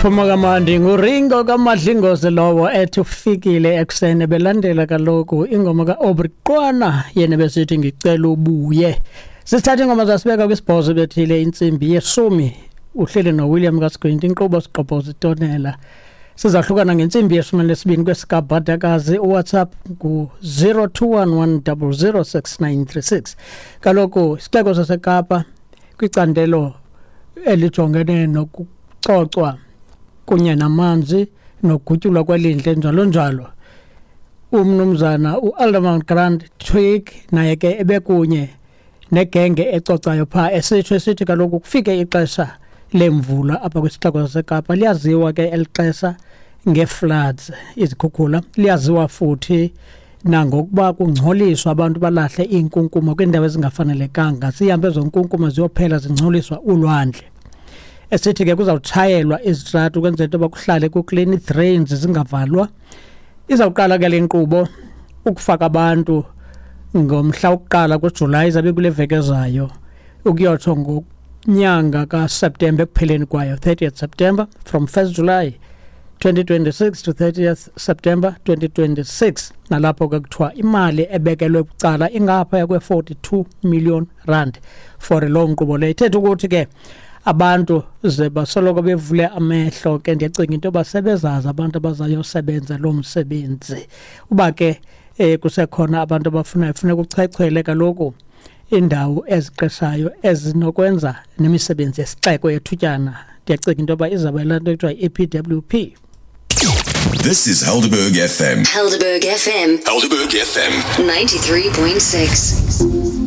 Phuma kamandi nguRingo kaMadlingozi lowo ethi ufikile ekuseni, belandela kaloku ingoma kaAubrey Qwana yena besithi ngicela ubuye. Sisithatha ingoma zasibeka kwisibhozo bethile intsimbi yeshumi. Uhleli noWilliam kaSigwinti, inkqubo sigqobhoza itonela. Sizahlukana ngentsimbi yeshumi nesibini kwesikabhadakazi. UWhatsApp ngu-0211006936. Kaloku isixeko saseKapa kwicandelo elijongene nokucocwa kunye namanzi nogutyulwa kwelindle njalo njalo, umnumzana uAlderman Grant Twig naye ke ebekunye negenge ecocayo phaa, esitsho esithi kaloku kufike ixesha lemvula apha kwisixeko saseKapa. Liyaziwa ke eli xesha ngee-floods, izikhukhula, liyaziwa futhi nangokuba kungcoliswa, abantu balahle iinkunkuma kwiindawo ezingafanelekanga, zihambe ezo nkunkuma ziyophela zingcoliswa ulwandle. Esithi ke kuzawutshayelwa izitrato ukwenzela into yoba kuhlale kuklini, drains zingavalwa. Izawuqala ke le nkqubo ukufaka abantu ngomhla wokuqala kuJulayi, izabe kule veki ezayo, ukuyotsho ngonyanga kaSeptemba ekupheleni kwayo, 30th September, from 1st July 2026 to 30th September 2026. Nalapho ke kuthiwa imali ebekelwe bucala ingaphaya kwe-42 million rand for loo nkqubo leyo. Ithetha ukuthi ke abantu ze basoloko bevule amehlo ke. Ndiyacinga into yoba sebezazi abantu abazayosebenza loo msebenzi. Uba ke kusekhona abantu abafunayo, funeka uchwechwele kaloku indawo eziqeshayo ezinokwenza nemisebenzi yesixeko yethutyana. Ndiyacinga into yoba izawuba laa nto ekuthiwa yi-EPWP. This is Helderberg FM. Helderberg FM. Helderberg FM. 93.6.